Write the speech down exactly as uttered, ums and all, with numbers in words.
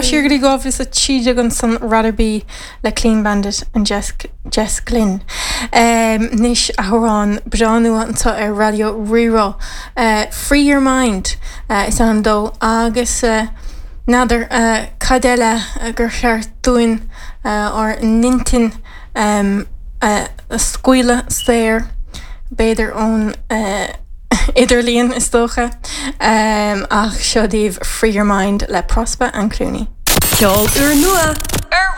Siar go dtí dhá mhíle a trí déag ansan Rather Be le Clean Bandit and Jess, Jess Glynne. Um, Anois amhrán breá nua anseo ar Raidió Rí-Rá. Uh, Free Your Mind uh, is ainm dó agus uh, n'fheadar uh, cad eile uh, gur cheart dúinn uh, ár n-intinn um, uh, a scaoileadh saor b'fhéidir ón uh, idirlíon is dócha um, ach seo daoibh Free Your Mind le Prospa and Clooney. Ceol úrnua ar